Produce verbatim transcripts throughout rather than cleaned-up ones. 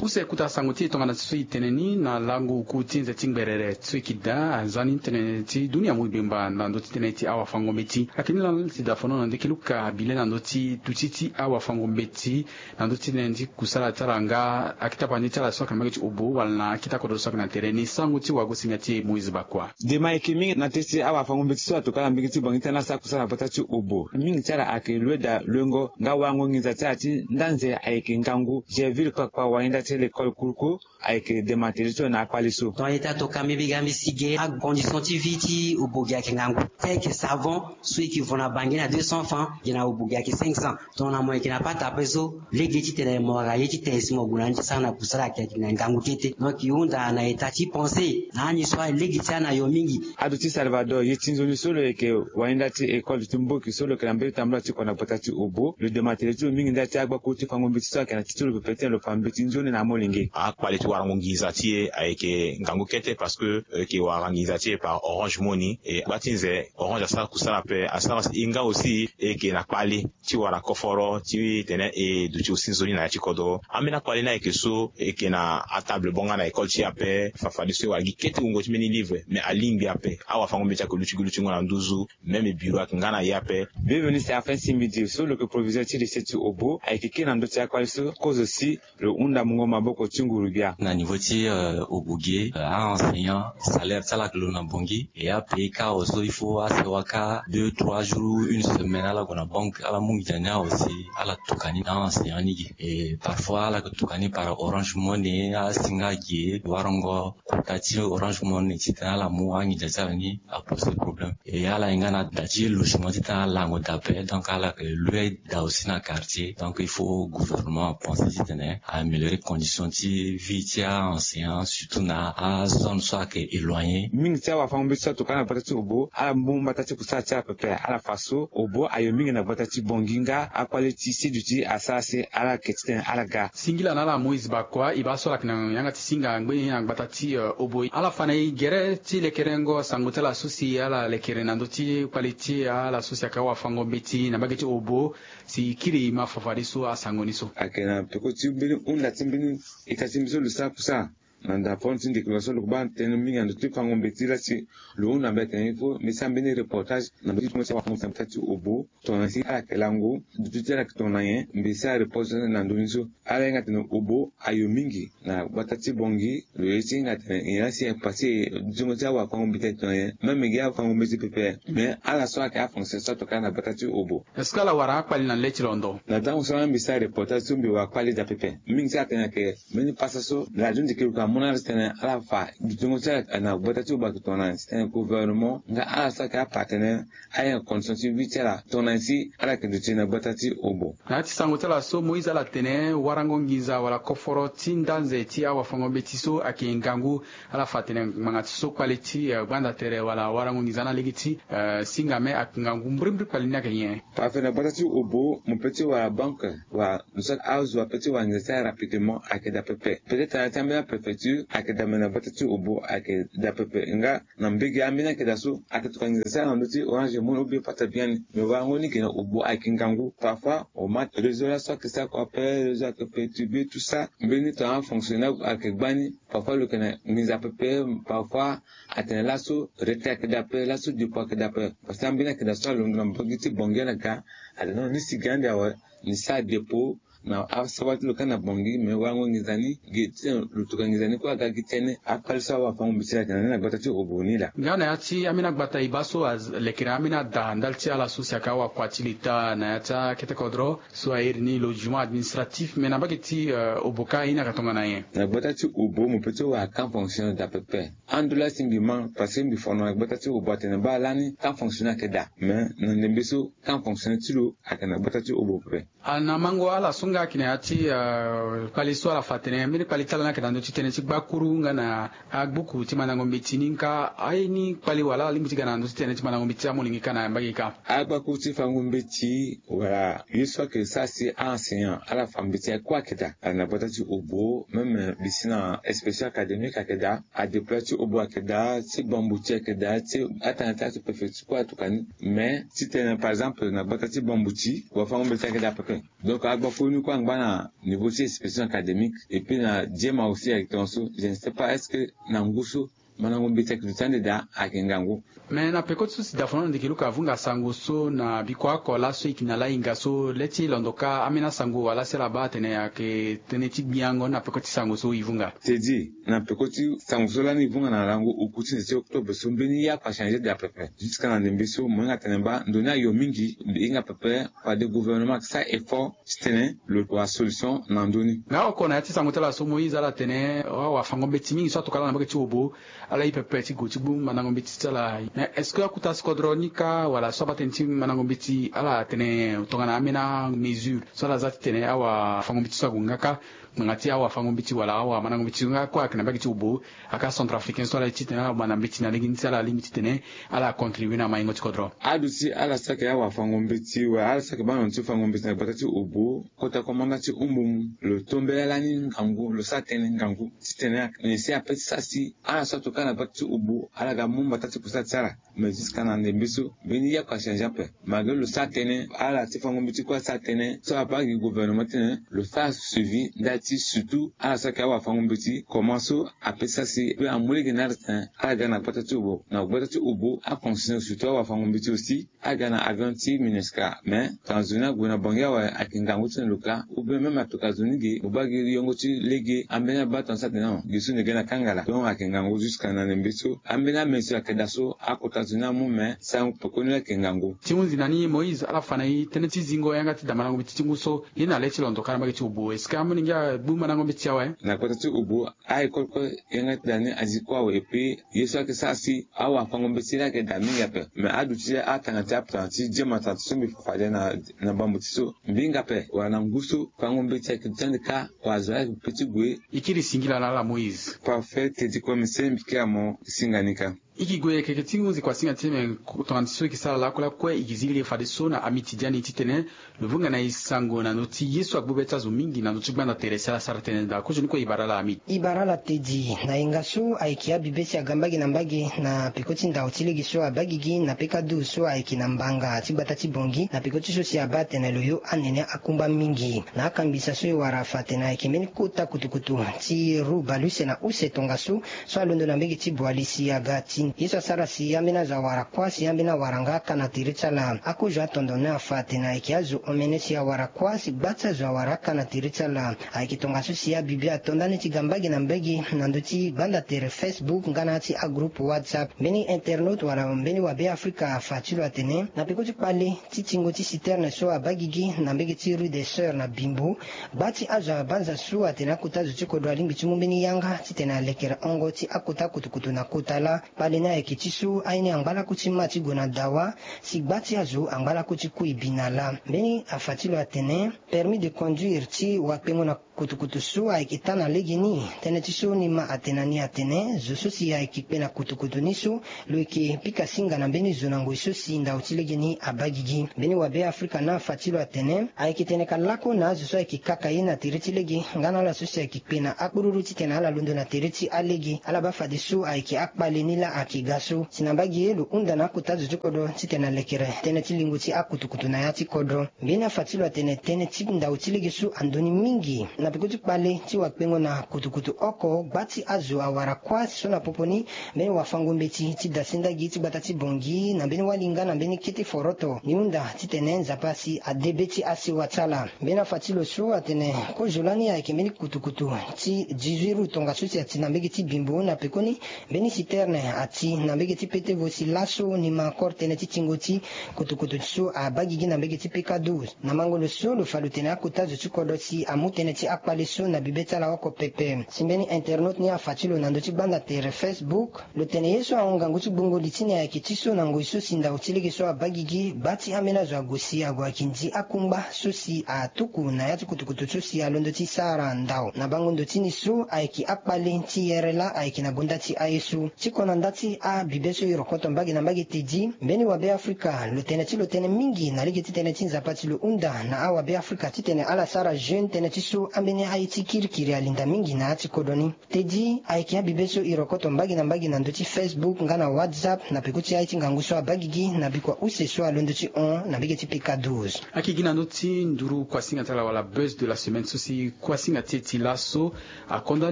Use kota sango ti e tongana so e tene ni na lango oku ti nze ti ngberere so e yeke daa anzani tënë ti dunia mo e bemba na ndö ti tënë ti awafango-mbeti. Ayeke ni laa si dafono na ndeke luka bile na ndö ti duti ti awafango-mbeti na ndö ti tënë ti kusala ti ala nga akita pande ti ala so ayeke na mbage ti obo wala na akita kodro so ayeke na tere ni. Sango ti wagosinga ti e Moïse Bakua. Dema ayeke mingi na teti awafango-mbeti so atokua na mbage ti Bangui ti ala asara kusala na gbata ti obo. Mingi ti ala ayeke lue daa luengo nga warango nginza ti ala ti nda nze ayeke ngangu. Gerville Kpakpa wahinda ti lekole kuruku ayeke dema tene ti lo na akpale so. Tongana e ta tokua mbi ga mbi si ge acondition ti vie ti obo ge ayeke ngangu. Ti ayeke savon so e yeke vo na Bangui na deux cents francs, ge na obo ge ayeke cinq cents. Tongana mo yeke na pata ape so lege titene mo wara ye ti tene si mo gue na ni ti sara na kusala ayeke na ngangu kete. Donc e hunda na état ti pensé na ani so alege ti ana yo mingi. Ado ti Salvador ye ti nzoni so lo yeke wahinda ti école ti mboki so lo yeke na mbeni tambula ti kua na gbata ti obo, lo dema tene ti lo mingi nda ti agbakuru ti fango mbeti so ayeke na ti ti lo pepe titene lo fa mbeti nzoni na amolenge. Akpale ti warango nginza ti e ayeke ngangu kete parce que e yeke wara nginza ti e par Orange Money. E gba ti nze Orange asara kusala ape, asara e nga aussi e yeke na kpale ti wara koforo titene e duti aussi nzoni na ya ti kodro. Ambeni akpale ni ayeke so e yeke na atable bonga na école ti e ape, fafadeso e wara gi kete wungo ti mbeni livre, mais alingbi ape awafango-mbeti ayeke luti gi lutingo na nduzu. Même bureau ayeke nga na ye ape. Bienvenu Séraphin Simbidi so lo yeke proviseur ti lycée ti obo ayeke kiri na ndö ti akpale so kozo si lo hunda mungo maboko ti nguru-gbia. Na niveau ti, euh, obo ge, euh, a-enseignant salaire ti ala ayeke lo na Bangui. E apaye kâ so il faut asewa kâ deux trois jours une semaine ala gue na banque ala mu nginza ni awe si ala tokua ni na a-enseignant ni ge. E parfois ala yeke tokua ni par Orange Money, asinga ge warango kota ti Orange Money titene ala mu anginza ti ala ni aposer problème. E ala ye nga na da ti logement titene ala lango daa ape, donc ala yeke lue daa aussi na quartier. Donc il faut gouvernement apenser titene a améliorer condition ti vie ti a-enseignant, surtout na azone so ayeke éloigné. Mingi ti awafango-mbeti so atokua na gbata ti obo ala mu mbata ti kusala ti ala pepe, ala fa so obo ayo mingi na gbata ti Bangui nga akpale ti si duti asara si ala yeke titene ala ga. Singila na ala Moïse Bakua, e baa so ala yeke na yanga ti singa ngbeni na gbata ti, euh, obo. Ala fa na e gere ti lekerengo sango ti ala so si ala lekere na ndö ti kpale ti ala so si ayeke awafango-mbeti na mbage ti obo, si e kiri e ma fafadeso asango ni so. Ayeke na peko ti mbeni hunda ti mbeni ita ti mbi so lo sara kusala na ndaponi ti ndeke lo so lo baa tënë mingi na ndö ti fango-mbeti la si lo hunda mbi atene il faut mbi sara mbeni reportage na ndö ti tongo ti awafango-mbeti na gbata ti obo. Tongana si ala yeke lango duti ti ala yeke tongana nyen, mbi sara reportage na ndö ni so. Ala hinga atene obo ayo mingi na gbata ti Bangui. Lo ye ti hinga atene nyen la si e passé dutingo ti awafango-mbeti ayeke tongana nyen, même gi afango-mbeti pepe. Mais ala so ayeke afonctionnaire so atokua na gbata ti obo. Est-ce que ala wara akpali na le ti londo? Na tango so la mbi sara reportage so mbi wara kpali daa pepe. Mingi ti atene ayeke mbeni pasa so radio ndeke luka amu na ala titene ala fa dutingo ti ala na gbata ti obo ayeke tongana nyen, titene gouvernement nga ala so ayeke apartenaire ahinga condition ti vie ti ala tongana nyen si ala yeke duti na gbata ti obo. Na ya ti sango ti ala so Moïse ala tene warango nginza wala koforo ti nda nze ti awafango-mbeti so ayeke ngangu. Ala fa atene ngbanga ti so kpale ti, eh, gbanda tere wala warango nginza ni alege ti, eh, singa me ayeke ngangu. Mbrimbri kpali ni ayeke nyen? Parfait, na gbata ti obo mo peut ti wara banque wala mo so azo apeut ti wara nginza ti ala rapidement ayeke daa pepe. Peut-être na ya ti ambeni apréfecture ayeke daa, me na gbata ti obo ayeke daa pepe. Nga na mbege ambeni ayeke daa so ayeke tokua nginza ti ala na ndö ti Orange Money ou bien pata biani. Me warango ni ge na obo ayeke ngangu. Parfois o ma réseau laso ayeke sara kua ape, réseau ayeke perturbé tout ça. Mbeni tongana afonctionnaire ayeke gbani. Parfois lo yeke na nginza pepe, parfois atene laso retrait ayeke daa ape, laso dépôt ayeke daa ape. Parce que ambeni ayeke daa so alondo na mbage ti Bangui ala ga, atene non, ni si ga ande awe, ni sara dépôt na asawali ti lo kâ na Bangui, me warango nginza ni ge ti tene lo tokua nginza ni kue aga gi tënë. Akpali so awafango-mbeti ayeke na ni na gbata ti obo ni laa. Nga na ya ti ambeni agbata e baa so alekere ambeni ada ndali ti ala so si ayeke awakua ti leta na ya ti akete kodro so a iri ni logement administratif, me na mbage ti, eh, obo kâ ye ni ayeke tongana nyen? Na gbata ti obo mo peut ti wara camp fonctionnaire daa pepe. Ando laa si mbi ma, parce que mbi fono na gbata ti obo atene baa lani camp fonctionnaire ayeke daa. Me na ndembe so camp fonctionnaire ti lo ayeke na gbata ti obo pepe. Ah, na mango ala so nga ayeke na ya ti, eh, kpali so ala fa atene mbeni kpali ti ala ni ayeke na ndö ti tënë ti gbakuru nga na agbuku ti mandango mbeti ni, nga aye ni kpali wala ala lingbi ti ga na ndö ti tënë ti mandango mbeti ti amolenge kâ na mbage kâ? Agbakuru ti fango mbeti wala ye so ayeke sara si a-enseignant ala fa mbeti aye kue ayeke daa. Ala na gbata ti obo, même, eh, mbi si na inspection académique ayeke daa, adéployé ti obo ayeke daa, ti Bambouti ayeke daa, ti atanga ti aso préfecture kue atokua ni. Mais titene par exemple na gbata ti Bambouti wafango mbeti ayeke daa pepe. Donc agbakuru ni Kue angba na niveau ti expression académique et puis na diema aussi ayeke tongaso. Je ne sais pas est-ce que na ngu so mandango mbeti ayeke duti ande daa ayeke ngangu. Mais na peko ti so si dafono na ndeke luka avunga sango so na biko oko laso e yeke na lahinga so le ti londo kâ ambeni asango wala si ala baa atene ayeke tënë ti gbiango na peko ti sango so e vunga. Tedi na peko ti sango so lani e vunga na lango uku ti nze ti octobre so mbeni ye oko achangé daa pepe. Jusqu'à na ndembe so mo hinga tene baa ndo ni ayo mingi. Mbi hinga pepe fade gouvernement ayeke sara effort titene lo wa solution na ndö ni. Nga oko na ya ti sango ti ala so moïse ala tene awafango mbeti mingi so atoka ala na mbage ti obo. Ala ye pepe ti gue ti gbu mandango mbeti ti ala. Mais est-ce que akuta si kodro ni kâ wala so abaa tënë ti mandango mbeti ala tene tongana ambeni amesure so ala za titene awafango mbeti so ague nga kâ? Ngbanga ti awafango mbeti wala awamandango mbeti so nga kue ayeke na mbage ti obo. Aka centrafricain so ala ye titene ala manda mbeti na lege ni si ala lingbi titene ala contribue na maingo ti kodro. Aduti ala saki awafango mbeti wala ala saki baa na ndo ti fango mbeti na gbata ti obo. Kota komanda ti umbumu lo to mbela lani ngangu lo sara tënë ngangu titene nyen si ape ti sara si ala so atoka na gbata ti obo ala ga mu mbata ti kusala ti ala. Mais jusqu'à na ndembe so mbeni ye oko achangé ape. Malgré lo sara tënë ala ti fango mbeti kue asara tënë so abaa gi gouvernement titene lo sara suivi ndali ti surtout ala so ayeke awafango mbeti comment so ape ti sara si pe amu lege na ala titene ala ga na gbata ti obo na gbata ti obo aconditionné surtout awafango mbeti aussi. Aga na avion ti minusca mais tongana zo ni ague na bangi awe ayeke ngangu ti na lo kâ. Ou bien même atoka zo ni ge mo baa gi yongo ti lege ambeni abaa tongana so atene non gi so ni ge na kangala donc ayeke ngangu jusqu'à na ndembe so ambeni amesure ayeke daa so akota zo ni amu mais sango pekoni ayeke ngangu. Ti hunzi na ni moïse ala fa na e tënë ti zingo yanga ti da mandango mbeti ti ngu so ye na le ti londo kâ na mbage ti obo est-ce que ambeni ngia agbu mandango mbeti awe? Na kota ti obo a école kue yanga ti da ni azi kue awe epui ye so ayeke sara si awafango mbeti laa ayeke daa mingi ape. Mais aduti atanga ti aptanga ti diema tanga ti so mbi fa fade na bambo ti so mbi hinga ape wala na ngu so fango mbeti ayeke duti ande kâ wala zo laa ayeke pe ti gue. E kiri singila na ala moïse. Parfait tedi kue mese mbi kiri amo singa ni kâ. E ke gue keke ti hunzi kuasinga ti me tongana ti so e ke sara lakue lakue e ke zi lege fadeso na amiti ti ani titene lo vunga na e sango na ndö ti ye so agbu be ti azo mingi na ndö ti gbanda tere si ala sara tënë daa kozoni kue e bara ala amiti. E bara ala tedi na yenga so ayeke abibe si aga mbage na mbage na peko ti ndao ti lege so abaa gigi na peka du so ayeke na mbanga ti gbata ti bongi na peko ti so si abaa atene lo yo anene akungba mingi. Na akambisa so e wara afa atene ayeke mbeni kota kutukutu ti ru baleuse na use tongaso so alondo na mbege ti boali si aga ti ye so asara si ambeni azo awara kuâ si ambeni awara nga aka na tere ti ala. Akozo atondo ni afa atene ayeke azo omene si awara kuâ si gba ti azo awara aka na tere ti ala. Ayeke tongaso si abibe ato ndani ti ga mbage na mbage na ndö ti gbanda tere facebook nga na ya ti agroupe whatsapp. Mbeni internaute wala mbeni wabe afrika afa ti lo atene na peko ti kpale ti tingo ti citerne so abaa gigi na mbege ti rue des sœurs na bimbo. Gba ti azo abanza so atene akota zo ti kodro alingbi ti mu mbeni yanga titene alekere hongo ti akota kutukutu na kota laa. Kpale ni ayeke ti so aye ni angba laku ti ma ti gue na dawa si gba ti azo angba laku ti kui bi na laa. Mbeni afa ti lo atene permis de conduire ti wakpengo na kutukutu so ayeke taa na legeni. Tënë ti so ni ma atene na ni atene zo so si ayeke kpe na kutukutu ni so lo yeke pika singa na mbeni zo na ngoi so si ndao ti legeni abaa gigi. Mbeni wabe afrika ni afa ti lo atene ayeke tene ka lako na azo so ayeke kaka ye na tere ti lege nga na ala so si ayeke kpe na akpururu titene ala londo na tere ti alege ala baa fadeso ayeke akpale ni laa ayeke ga so si na mbage ye lo hunda na akota zo ti kodro titene alekere tënë ti lingo ti akutukutu na ya ti kodro. Mbeni afa ti lo atene tënë ti ndao ti lege so andoni mingi na peko ti kpale ti wakpengo na kutukutu oko gba ti azo awara kuâ so na popo ni mbeni wafango mbeti ti dasenda gi ti gbata ti bongi na mbeni wali nga na mbeni kete foroto ni hunda titene nzapa asi ade be ti asewa ti ala. Mbeni afa ti lo so atene kozo lani ayeke mbeni kutukutu ti dix-huit roues tongaso si ati na mbege ti bimbo na pekoni mbeni citerne ati na mbege ti petevo si laso ni ma encore tënë ti tingo ti kutukutu so abaa gigi na mbege ti peka douze. Na mango lo so lo fa lo tene akota zo ti kodro si amu tënë ti akpale so na bibe ti ala oko pepe si mbeni internaute ni afa ti lo na ndö ti gbanda tere facebook. Lo tene ye so ahon ngangu ti gbungo li ti ni ayeke ti so na ngoi so si ndao ti lege so abaa gigi gba ti ambeni azo ague si ague ayeke ndi akungba so si atuku na ya ti kutukutu so si alondo ti sara ndao na bango ndo ti ni so ayeke akpale ti yere laa ayeke na gonda ti aye so ti kona nda. Ti abibe so e rokoto mbage na mbage tedi mbeni wabe afrika lo tene ti lo tene mingi na lege ti tënë ti nzapa ti lo hunda na awabe afrika titene ala sara jeune tënë ti so ambeni aye ti kirikiri alinda mingi na ya ti kodro ni. Tedi ayeke abibe so e rokoto mbage na mbage na ndö ti facebook nga na whatsapp na peko ti aye ti ngangu so abagigi na bikua use so alondo ti hon na mbage ti pika douze. Akigi na ndö ti nduru kuasinga ti ala wala buzz de la semaine so si kuasinga ti e ti laso. Akonda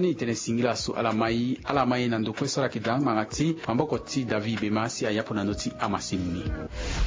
ni tene singila so ala mai ala mai na ndo kue so ala yeke daa ngbanga ti maboko ti david bema si ayapo na ndö ti amasini ni.